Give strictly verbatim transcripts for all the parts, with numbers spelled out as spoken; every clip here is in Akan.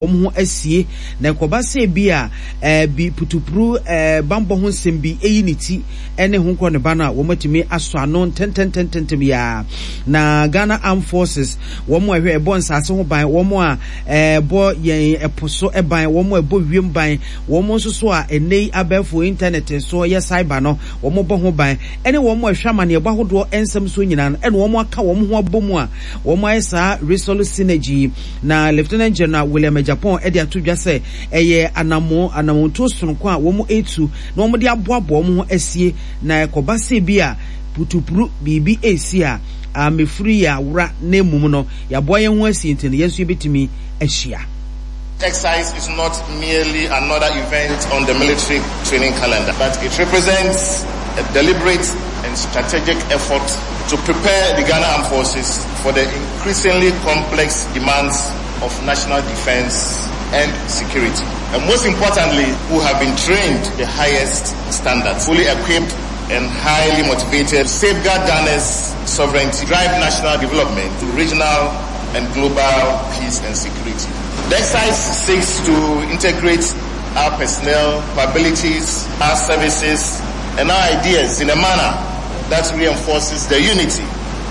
Wɔn ho asie, na ɛkɔba sɛ bi a ɛɛ bi putupuru ɛɛ bambɔ ho nsɛm bi eyi ne ti ɛne ho nkɔ ne ba no a, wɔn atumi asɔ ano ntɛntɛntɛntɛm yaa. Na Ghana Armed Forces, wɔn a ɛhwɛ ɛbɔ nsaase ho ban, wɔn a ɛbɔ yɛn ɛpo so ban, wɔn a ɛbɔ wiem ban, wɔn nso so a ɛnɛ yi abɛɛfo internet so yɛ cyber no, wɔn bɔ ho ban, ɛne wɔn a ɛhwɛ amaneɛbɔ ahodoɔ nsɛm so nyinaa no, ɛna wɔn aka wɔn ho abɔ mu a wɔn ayɛ saa Resolute Synergy. Na Lieutenant General William Agyapong ɛde ato dwa sɛ ɛyɛ anamo anamontuo sononko a wɔn etu na wɔn de aboaboa wɔn ho asie, na ɛkɔba sɛ bi a putupuru biribi esi a amefiri yɛ awora, na emum no yɛaboa yɛn ho asie, nti no yɛn nso yɛbɛtumi ahyia. Exercise is not merely another event on the military training calendar, but it represents a deliberate and strategic effort to prepare the Ghana Armed Forces for the increasingly complex demands of national defense and security. And most importantly, who have been trained to the highest standards, fully equipped and highly motivated to safeguard Ghana's sovereignty, drive national development, regional and global peace and security. The exercise seeks to integrate our personnel, capabilities, our services, and our ideas in a manner that reinforces the unity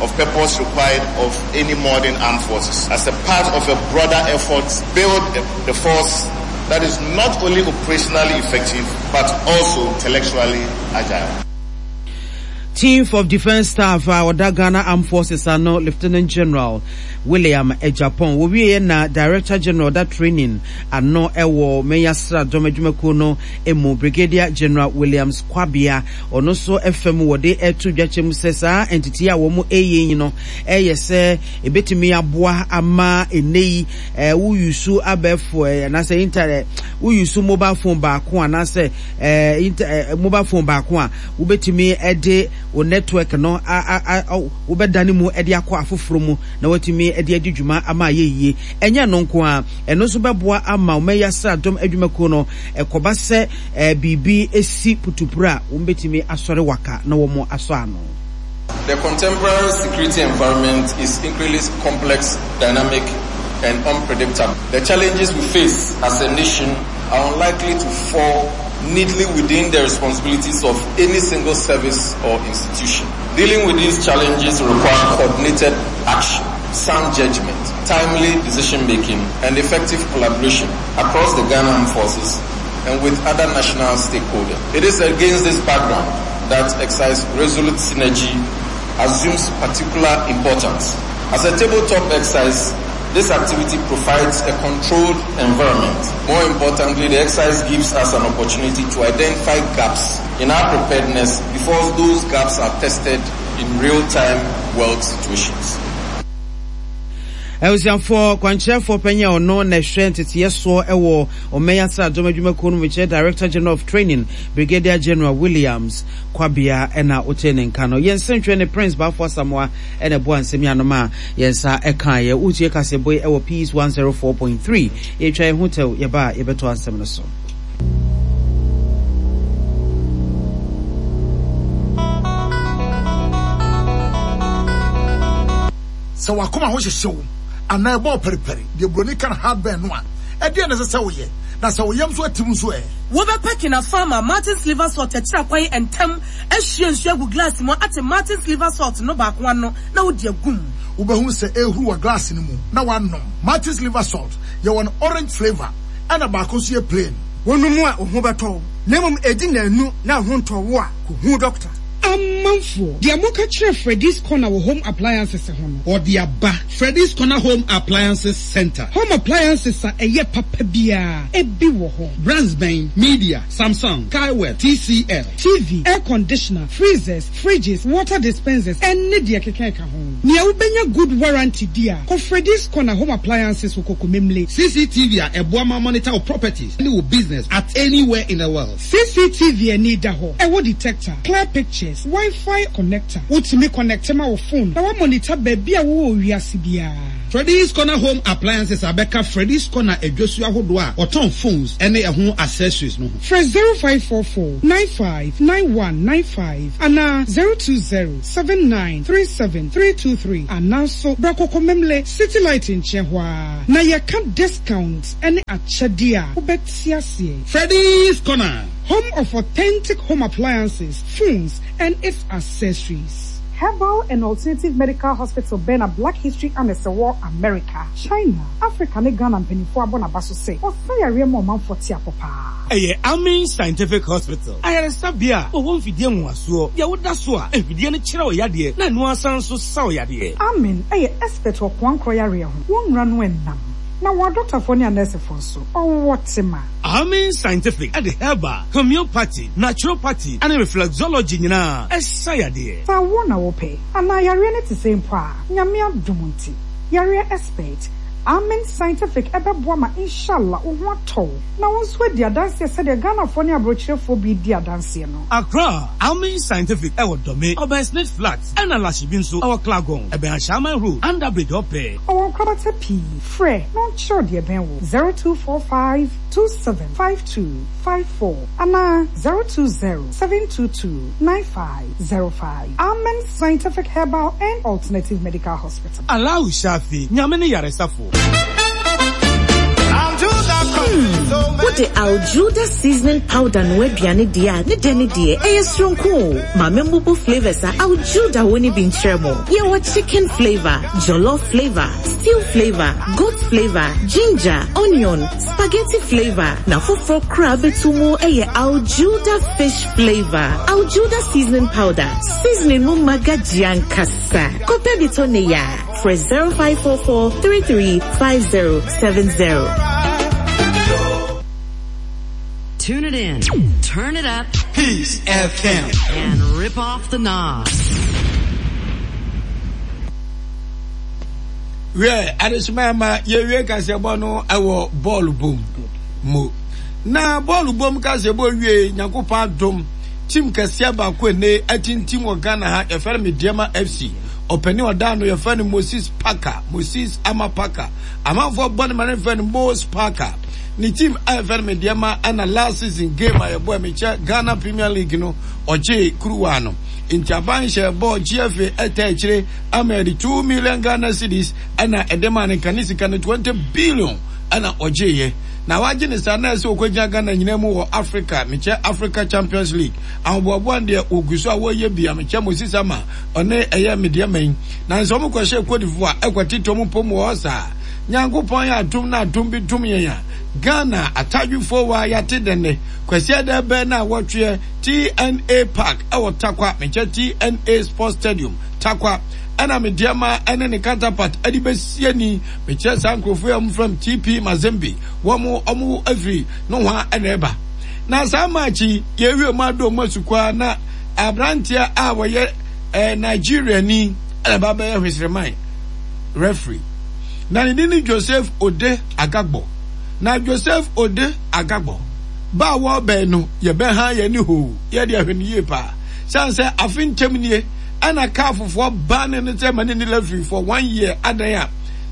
of purpose required of any modern armed forces. As a part of a broader effort to build the force that is not only operationally effective, but also intellectually agile. Chief of Defence Staff a ɔda Ghana Armed Forces ano, Lieutenant General William Agyapong, wɔwieɛ na Director General da training ano ɛwɔ mɛnya dɔm adwumakuo no emu, Brigadier General Williams Kwabea, ɔno nso fam wɔde ɛto dwakyɛ mu sɛ saa entity a wɔn ɛyɛ yi no ɛyɛ sɛ ebetumi aboa ama ene yi ɛɛ woyusu abɛɛfo ɛɛ anaasɛ internet, woyusu mobile phone baako anaasɛ ɛɛ inter ɛɛ mobile phone baako a wobɛtumi ɛde wo network no a a a wobɛdane mu ɛde akɔ afoforɔ mu na watumi ɛde adi dwuma ama ayɛ yie. Ɛnyɛ no nko a, ɛno nso bɛboa ama ɔmɛyɛ asradɔm adwumakuo no, ɛkɔba sɛ ɛɛ biribi esi putupuru a, wɔn bɛtumi asɔre waka na wɔn asɔ ano. The contemporary security environment is increasingly complex, dynamic, and unpredictable. The challenges we face as a nation are unlikely to fall neatly within the responsibilities of any single service or institution. Dealing with these challenges require coordinated action, sound judgment, timely decision making, and effective collaboration across the Ghana Armed Forces and with other national stakeholders. It is against this background that Exercise Resolute Synergy assumes particular importance. As a tabletop exercise, this activity provides a controlled environment. More importantly, the exercise gives us an opportunity to identify gaps in our preparedness before those gaps are tested in real-time world situations. Abusuafoɔ, kwankyerɛfoɔ panyin a ɔno na ɛhwɛ nteteɛ soɔ ɛwɔ ɔmɛn asradɔm adwumakuo no mu, kyerɛ Director General of Training, Brigadier General Williams Kwabea, ɛna wote ne nka no. Yɛn nsɛntwerɛ ne Prince Baafo Asamoa ɛna ɛboa nsɛm yi anom a yɛn nsa ɛka yɛ. Wotie kasɛbɔ yi ɛwɔ Peace one oh four point three. Yɛtwa yɛn ho tɛw, yɛba a yɛbɛto asɛm no so. Sɛ wakoma ho hyehye wo anaa ɛbɔ pɛripɛri deɛ buroni ka no heartburn no a, ɛdeɛ na ɛsɛ sɛ woyɛ? Na sɛ woyam so atim nso ɛ? Wobɛpɛ Kinapharma Martin's Liver Salt akyira kwan ntɛm, ahyia nsuo agu glass mu, ate Martin's Liver Salt no baako ano na wode agum. Wobɛhu sɛ ɛhuru wɔ glass no mu na wanom. Martin's Liver Salt, yɛwɔ no orange flavour, ɛna baako nso yɛ plain. Wɔnom a, wo ho bɛtɔ wo, na mmom ɛdi nnanu na wo ho ntɔ wo a, kɔhu dɔkta. Amanfoɔ, deɛ moka kyerɛ Freddy's Corner wɔ home appliances ho no, ɔde aba. Freddy's Corner Home Appliances Center. Home appliances a ɛyɛ papa biara ebi wɔ hɔ. Brands bɛn? Midea, Samsung, Skyworth, T C L. T V, air conditioner, freezers, fridges, water dispensers, ɛne deɛ keka ɛka ho. Nea wobɛnya good warranty di a, kɔ Freddy's Corner Home Appliances wɔ Kokomemle. C C T V a ɛboa ma monitor wo properties ne wo business at anywhere in the world. C C T V ani da hɔ, ɛwɔ detector, clear pictures, Wi-Fi connector. Wotumi connect ma wo phone na wa monitor baabi a wowɔ wiase biara. Freddy's Corner Home Appliances abɛka Freddy's Corner adwosuo ahodoɔ a wɔtɔn phones ne ɛho accessories no ho. Frɛ zero five four four nine five nine one nine five anaa zero two zero seven nine three seven three two three anaa nso bra Kokomlemle City Light nkyɛn hɔ ara na yɛka discount ne akyɛdeɛ a wobɛte aseɛ. Freddy's Corner. Home of authentic home appliances, phones and its accessories. Herbal and Alternative Medical Hospital bɛn na Black History Annex wɔ America, China, Africa ne Ghana mpanimfoɔ abɔ n'aba so sɛ ɔsa yareɛ ma ɔmanfoɔ te apɔ paa. Ɛyɛ Amin Scientific Hospital, ayaresabea a wɔwɔ mfidie nwowasoɔ, deɛ woda so a mfidie no kyerɛ wo yadeɛ na ɛno asan nso sa wo yadeɛ. Amin yɛ expert wɔ koankorɔ yareɛ ho, wɔn nnura no ɛnam, na wɔn adɔktafoɔ ne anɛɛsefoɔ nso, ɔwɔ tema. Amin Scientific de herbal, homeopathy, naturopathy ne reflexology nyinaa ɛsa yadeɛ. Sɛ awoɔ na wopɛ, anaa yareɛ no te sɛ mpo a, Nyame adom nti, yareɛ expert, Amin Scientific ɛbɛboa ma inshallah wo ho atɔ wo, na wo nso adi adanseɛ sɛdeɛ Ghanafoɔ ne aborɔkyerɛfoɔ bi di adanseɛ no. Accra, Amin Scientific ɛwɔ Dome, ɔbɛn Smith Flat, ɛna Lashibi nso ɛwɔ Clagon, ɛbɛn Ashaiman Road, Under Bridge ɔpɛ. Ɔwɔ nkorabata pii, frɛ na ɔnkyerɛw deɛ ɛbɛn wo zero two four five two seven five two five four anaa zero two zero seven two two nine five zero five. Amen Scientific Herbal and Alternative Medical Hospital. Allahu Shafi, Nyame ne yaresafo. Hmm, wode Aljuda seasoning powder no aduane deɛ a ne dɛ ne deɛ ɛyɛ soronko o. Ma membubu flavors a Aljuda wɔ ne bi nkyerɛ mo. Yɛwɔ chicken flavor, jollof flavor, stew flavor, goat flavor, ginger, onion, spaghetti flavor. Na foforɔ koraa bɛtu mu ɛyɛ Aljuda fish flavor. Aljuda seasoning powder, seasoning mu magagye ankasa. Kɔpɛ bi tɔ ne ya. Frɛ zero five four four three three five zero seven zero. Tune it in, turn it up, Peace F M, and rip off the knob. Where Adesumama ye we kasebo ewo ball boom mo. Na ball boom kasebo wie Nyankopɔn adom team kɛseɛ baako ne atintim wɔ Ghana ha yɛfrɛ no Medeama F C. Ɔpani ɔda no yɛfrɛ no Moses Parker, Moses Ama Parker. Amanfoɔ bɔ ne ma ne frɛ no Moses Parker. Ne team a yɛfrɛ no Medeama ɛna last season game a yɛbɔ ɛmekyɛ Ghana Premier League no ɔgye kuruwa no. Nti aban hyɛ bɔɔl G F A ɛtɛ akyire ama yɛde two million Ghana cedis ɛna ɛde ma ne nka ne sika no twenty billion ɛna ɔgyeeɛ. Na wagye ne saa na ɛsɛ ɔkɔgyina Ghana nyinaa mu wɔ Africa, mekyɛ Africa Champions League. Ahoboaboa deɛ wɔgu so a wɔyɛ bia mekyɛ Moses Ama ɔne ɛyɛ Medeama yi. Na nso ɔmo kɔhyɛ Cote d'Ivoire ɛkɔtete ɔmo pom wɔ hɔ saa. Nyankopɔn yɛ atom na atom bi tom yɛn a Ghana atadwefoɔ wɔ ayate dɛnɛ. Kwasi Ada bɛn na wɔtweɛ T N A Park ɛwɔ Tarkwa, mekyɛ T N A Sports Stadium Tarkwa. Ɛna Medeama ɛne ne counterpart ɛde bɛsie ni mekyɛ saa nkurɔfoɔ yi a wɔn from T P Mazembe wɔn wɔn afiri nohoa ɛna ɛba. Na saa match yi yɛwie mu ado mu asukwa na aberanteɛ a wɔyɛ eh, Nigeria ni ɛna ba bɛyɛ hwesreman referee. Na ne din ne Joseph Ode Agagbo. Na Joseph Ode Agagbo ba a wɔbɛn no yɛbɛha yɛn ne hoo yɛde ahwɛ no yie paa. Sane sɛ afe ntɛm nie ɛna kaa fofoɔ ba ne no sɛ ma ne ne referee for one year adan a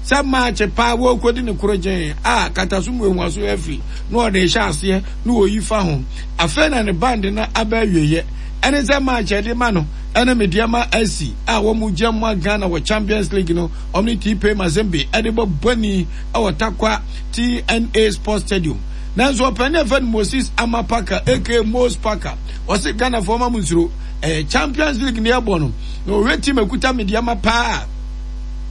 sɛ match paa wɔkɔdi ne koro gyɛn a kataso mu ehuaso referee na ɔde hyɛ aseɛ na wɔyi fa ho. Afei na ne band no aba awieeɛ. Ɛne sɛ match ɛde ma no ɛne Medeama S C a wɔn mu gye mmoa Ghana wɔ Champions League no wɔn ne T P Mazembe ɛde bɔ bɔni ɛwɔ Tarkwa T N A Sports Stadium. Nanso ɔpanin a yɛfrɛ no Moses Ama Parker aka Moses Parker ɔse Ghana foɔ ma mo nsuro ɛyɛ Champions League ne ɛbɔ no na ɔhwɛ team ekuta Medeama paa.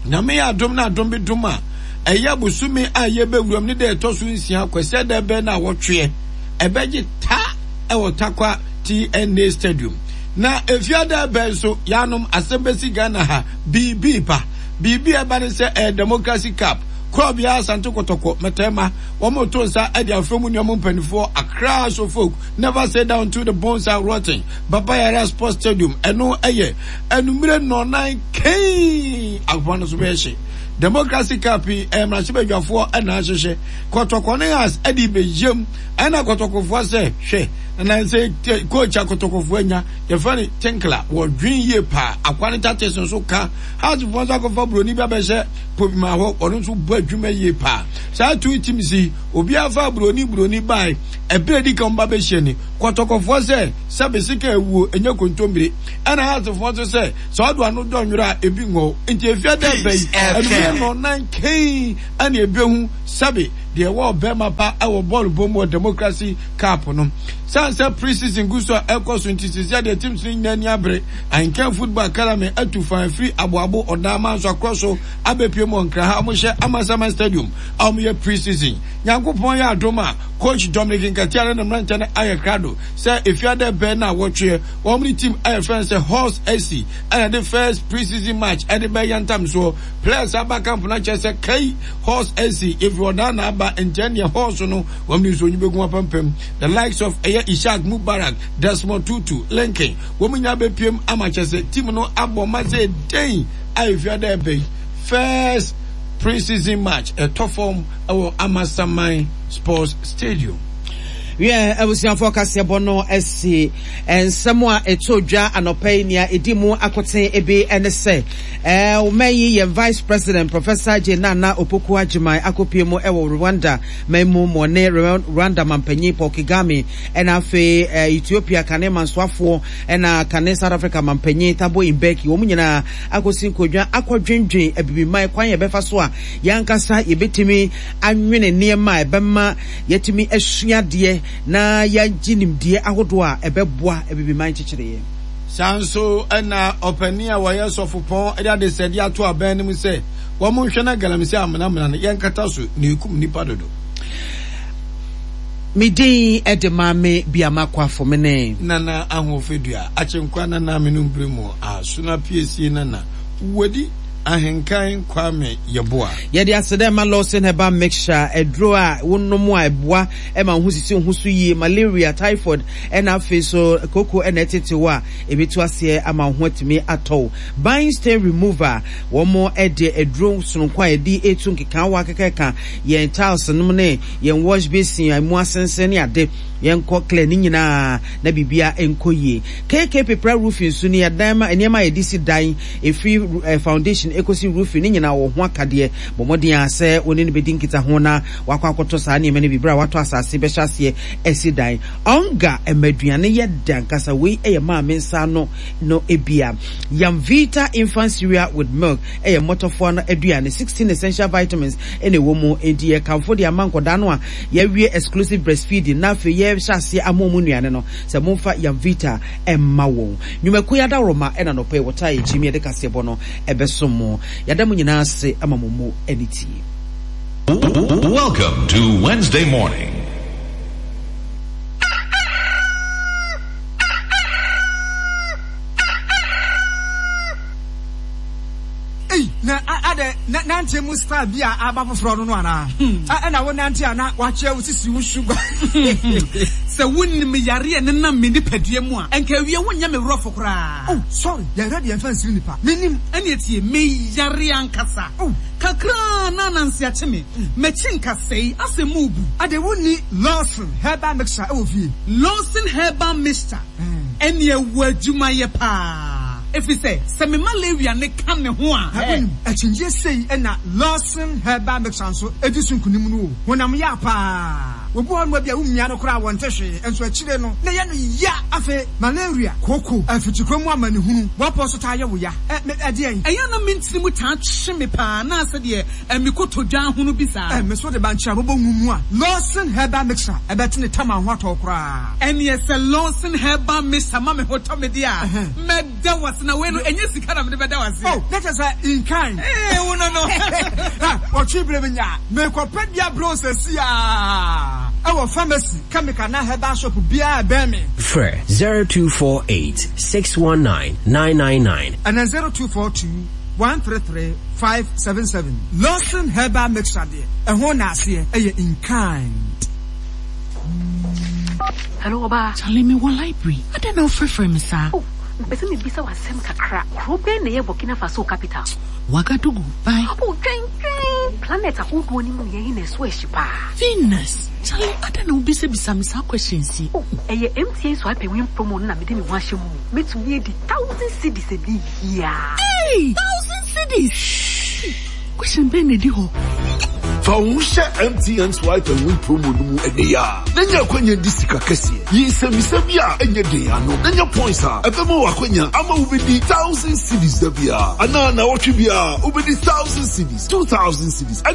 Nyame yɛ adom na adom bi dom a ɛyɛ bosome a yɛbɛwuram ne dɛ ɛtɔ so nsia Kwasi Ada bɛn na wɔtweɛ ɛbɛgye ta ɛwɔ Tarkwa T N A Stadium. Na efiada bɛn nso yanom asɛm bɛsi Ghana ha biribi ba biribi ɛba ne sɛ ɛyɛ Democracy Cup Korɔbea Asante Kotoko mɛtɛma wɔn to nsa ɛde afrɛ mu nneɛma mpanimfoɔ Accra so folk never say down to the bones are rotten Baba Yara Sports Stadium ɛno ɛyɛ anumere nnɔnan kɛn akoma no so bɛyɛ hye Democracy Cup yi ɛyɛ mmarahyɛbadwafoɔ ɛna ahyehyɛ. Kɔtɔkɔ ne Hearts ɛde bɛyam ɛna kɔtɔkɔfoɔ sɛ hwɛ na sɛ coach a kɔtɔkɔfoɔ anya yɛfrɛ no Tinkler wɔdwen yie paa akwa ne tactics nso ka Hearts foɔ nso akɔfa buroni bi abɛhyɛ Pobima hɔ ɔno nso bɔ adwuma yie paa saa two teams yi obiara fa buroni buroni bae ɛberɛ di kan ba bɛhyia ni kɔtɔkɔfoɔ sɛ sɛbe sika awuo ɛnyɛ kontommire ɛna Hearts foɔ nso sɛ sɛ ɔdo ano dɔ nwera a ebi ngɔ nti efia dɛ bɛyi ɛnumere no nan kɛn ɛna ebehu sɛbe deɛ ɛwɔ ɔbɛrima pa ɛwɔ bɔɔl bɔ mu wɔ Democracy Cup no san sɛ pre-season gu so a ɛkɔ so nti sisi adeɛ teams no nyinaa ani abere Ahenkan Football Academy atu fan firi aboabo ɔdan manso akorɔ so abɛpie mu wɔ Nkran ha wɔhyɛ Amasaman Stadium a wɔyɛ pre-season Nyankopɔn yɛ adom a coach Dominic Nkatia ne ne mmeranteɛ no ayɛ krado sɛ efiada bɛn na wɔtweɛ wɔn ne team a yɛfrɛ no sɛ Horse S C ɛna de first pre-season match ɛde bɛyɛ ntam soɔ players aba camp no akyerɛ sɛ kai Horse S C efiri ɔdan na aba nkyɛn deɛ horse no wɔn de nsuo bɛgu apampam the likes of ɛyɛ Ishak Mubarak, Desmond Tutu, Lincoln wɔn nyinaa bɛpiem ama kyerɛ sɛ team no abɔ ma sɛ den a efiada ɛbɛn first pre-season match ɛtɔ fam ɛwɔ Amasaman Sports Stadium. Wiɛ, abusuafoɔ, kaseɛbɔ no asi. Nsɛm a ɛtɔ dwa anɔpa yi, nea ɛdi mu akoten ebi ne sɛ ɛɛ ɔman yi yɛn Vice President, Professor Jane Nana Opoku Agyemang, akɔpie mu ɛwɔ Rwanda man mu ma ɔne Rwanda mampanyin Paul Kagame, ɛna afei ɛɛ Ethiopia kane mansoafoɔ, ɛna kane South Africa mampanyin Thabo Mbeki, wɔn nyinaa akɔsi nkonnwa akɔdwendwen abibiman kwan yɛbɛfa so a yɛankasa yɛbɛtumi anwene nneɛma a ɛbɛma yɛtumi asua adeɛ na yɛagye nimdeɛ ahodoɔ a ɛbɛboa abibiman nkyekyereeɛ. Saa nso ɛna ɔpanin a wɔyɛ sɔfopɔn de adesɛdeɛ ato abɛn no mu sɛ wɔn nhwɛ na galamsey amenamena no yɛnkata so na ekum nipa dodo. Me din ɛde Maame Biama Kwafo me ne Nana Ahoɔfɛdua Akyenkwa Nana Menumbere mu Asona Piesie Nana Wadi Ahenkan Kwame Yeboa. Yɛde aseda ma Lawson Herbal Mixture, aduro a wonom a ɛboa ma wo ho sisi wo ho so yie. Malaria, typhoid, ɛna afei so koko ɛna ɛtete wo a ɛbɛtu aseɛ ama wo ho atumi atɔ wo. Bind stain remover, wɔn ɛde aduro sononko a yɛde etu nkekaawa kɛkɛka yɛn tiles nom ne yɛn wash basin a emu asensen ne ade, yɛnkɔ clear ne nyinaa na biribia nkɔ yie. K K Pepra Roofing nso ne yɛdan ma nneɛma a yɛde si dan, ɛfiri eh, foundation ɛkɔsi roofing ne nyinaa wɔ ho akadeɛ. Bɔ mmɔden a sɛ wɔne no bɛdi nkita ho na wakɔ akɔtɔ saa nneɛma no bi berɛ a watɔ asase bɛhyɛ aseɛ asi dan. Ɔnga ɛma aduane yɛ da nkasa. Wei ɛyɛ maame nsa no no ebia Yamvita infant cereal with milk ɛyɛ mmɔtɔfoɔ no aduane. sixteen essential vitamins ɛna ɛwɔ mu, enti yɛkamfo de ama nkɔdaa no a yɛawie exclusive breastfeeding na afei yɛhyɛ aseɛ ama ɔmu nnuane no sɛ momfa Yamvita ɛmma wɔn. Nnwumakuo yi adaworoma ɛna nɔpɛ yi wɔtaa yɛkyi mi yɛde kaseɛbɔ no ɛbɛsom mo. Yɛda mo nyinaa ase ama mo mu ani tie. Welcome to Wednesday morning. Ei, na adɛ na nante mu style bi a aba foforɔ no no anaa? Ɛna wo nante a na wakyerɛ wo sisi wo sugar. Sɛ wonim yareɛ ne nam me nipadua mu a, ɛnka awie wonyɛ me worɔfo koraa. Oh, sorry, yɛhwɛ deɛ mfa nsiri nipa. Menim. Ɛne tie, meyare ankasa. Oh. Kakraa na ananse akye me. M'akyi nkasɛe, asɛ mu bu. Ade wonni Lawson Herbal Mixture ɛwɔ fie? Lawson Herbal Mixture, ɛne ɛwɔ adwumayɛ paa. Ɛfiri sɛ, sɛ me malaria ne ka ne ho a. Wonim, akyinnyie sei ɛna Lawson Herbal Mixture nso ɛdi so nkonim no o. Honam yɛ paa. Obi hɔ nom bi a womia no koraa wɔnte hwee, nso akyire no na ɛyɛ no ya. Afei malaria, kooko, afikyikɔ mu amanehunu, wɔpɔ so taa yɛ wo ya. Ɛ ɛdeɛn? Ɛyɛ na me ntiri mu taa twe me paa na asɛ deɛ me kotodwe ahono bi saa. Ɛ me so de bankye a bɔbɔ ngu mu a, Lawson Herbal Mixture ɛbɛte ne tam a ho atɔ koraa. Ɛneɛ sɛ Lawson Herbal Mixture ma me ho tɔ me deɛ a, mɛda wase na wei no ɛnyɛ sika na mede bɛda wase. Oh, na kyerɛ sɛ in kind. Ee, wo no no. Wɔtwe bere mi nya mekɔpɛ bia bro sɛsi a ɛwɔ pharmacy, chemical na herbal shop biara bɛn me. Frɛ zero two four eight six one nine nine nine nine. Ɛna zero two four two one three three five seven seven. Lawson Herbal Mixture deɛ, ɛho na aseɛ ɛyɛ in kind. Hello, ɔbaa. Charlie, me wɔ library. Adɛn na wofrɛfrɛ me saa? Oh, Mpɛ sɛ mebisa wo asɛm kakra. Kuro bɛn na ɛyɛ Burkina Faso capital? Ouagadougou, bye. Oh, twɛn twɛn. Planet ahodoɔ no mu yɛn na ɛso ahyi paa. Venus. Charlie, adɛn na wobisabisa me saa questions yi? Oh, ɛyɛ M T N Swipe and Win promo no na mede me ho ahyɛ mu. Mɛtumi adi thousand cedis ɛnɛ yi ara. Hey, thousand cedis! Question bɛn na ɛdi hɔ? Fa wo ho hyɛ M T N Swipe and Win promo no mu ɛnɛ yi a na nya akwanya di sika kɛseɛ. Yi nsɛmmisa bi a ɛnyɛ den ano na nya points a ɛbɛma wo akwanya ama wobɛdi thousand cedis da biara anaa naawɔtwe biara wobɛdi thousand cedis, two thousand cedis ɛne